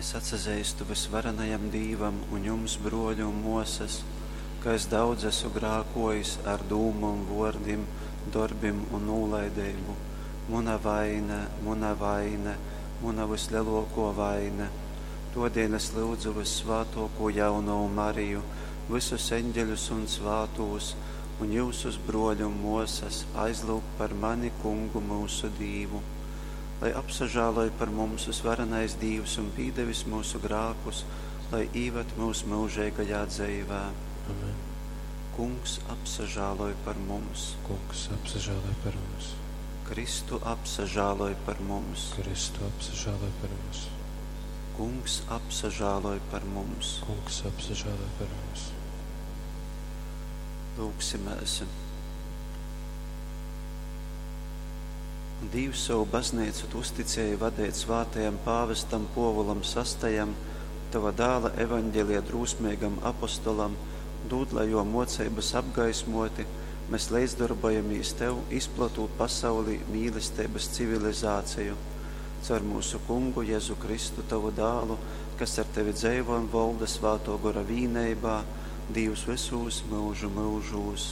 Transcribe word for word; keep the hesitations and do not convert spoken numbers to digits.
Es atsazeistu vysvarenajam Dīvam un jums, bruoļi un muosys, ka es daudz esu grākuojis ar dūmom, vuordim, dorbim un nūlaideibu. Muna vaine, muna vaine, muna vysleluokuo vaine. Tuodeļ es lyudzu vyssvātuokū Jaunovu Mariju, vysus eņģeļus un svātūs, un jiusus, bruoļi un muosys, aizlyugt par mani Kungu myusu Dīvu. Lai apsažāloj par mums vysvarenais Dīvs un pīdevis myusu grākus, lai īvad myus myužeigajā dzeivē. Amen. Kungs, apsažāloj par mums! Kungs, apsažāloj par mums! Kristu, apsažāloj par mums! Kristu, apsažāloj par mums! Kungs, apsažāloj par mums! Kungs, apsažāloj par mums! Lūgsimēs! Dīvs, sovu bazneicu tu uzticēji vadeit svātajam pāvestam Puovulam Sastajam, tova dāla evaņgelija drūsmeigam apostolam, dūd, lai juo muoceibys apgaismuoti, mes leidzdorbuojamīs tev, izplotūt pasaulī mīlesteibys civilizāciju. Caur myusu Kungu Jezu Kristu, tovu dālu, kas ar tevi dzeivo un volda Svātuo Gora vīneibā, Dīvs vysūs myužu myužūs.